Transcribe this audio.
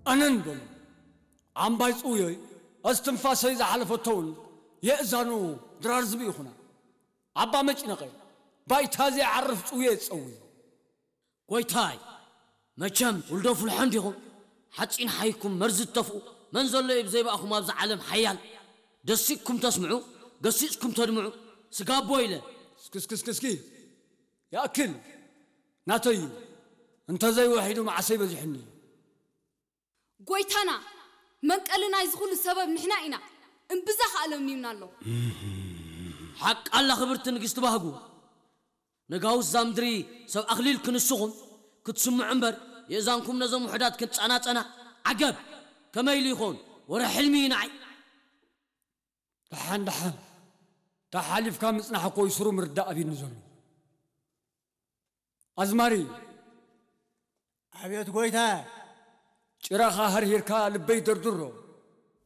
ኣነን በሉ ኣምባይ ጽውዮይ፣ እስትንፋሰይ ዝሓለፈቶውን የእዛኑ ድራር ዝብኢ ይኹና። ኣባ መጭነቐ፣ ባይታ ዘይዓርፍ ጽውየ ዝጸውይ። ጎይታይ፣ መቸም ውልዶ ፍልሖ እንዲኹም፣ ሓጺን ሓይኩም መርዚ እተፍኡ፣ መን ዘሎ እዩ ብዘይባእኹም ኣብዚ ዓለም ሓያል? ደሲቕኩም ተስምዑ፣ ገሲጽኩም ተድምዑ፣ ስጋቦ ኢለ። እስኪ፣ እስኪ፣ እስኪ፣ እስኪ፣ ይኣክል፣ ናተይ እዩ፣ እንተዘይወሒዱ መዓሰይ በዚሑኒ። ጎይታና፣ መንቀሊ ናይዚ ኩሉ ሰበብ ንሕና ኢና፣ እምብዛ ከኣ ለምኒምና ኣሎ። ሓቃላ ክብርቲ ንግስቲ ባህጉ፣ ነጋውስ እዛ ምድሪ ሰብ ኣኽሊል ክንስኹም ክትስምዑ እምበር፣ የእዛንኩም ነዞም ውሑዳት ክንጸናጸና፣ ዓገብ! ከመይ ኢሉ ይኸውን? ወረ ሕልሚ እዩ ንዓይ። ደሓን ደሓን፣ ተሓሊፍካ ምጽናሕ እኮ እዩ ስሩ ምርዳእ ኣቢኒ ዘሎ። ኣዝማሪ፣ ኣቤት ጎይታ፣ ጭራኻ ሃርሂርካ ልበይ ደርድሮ።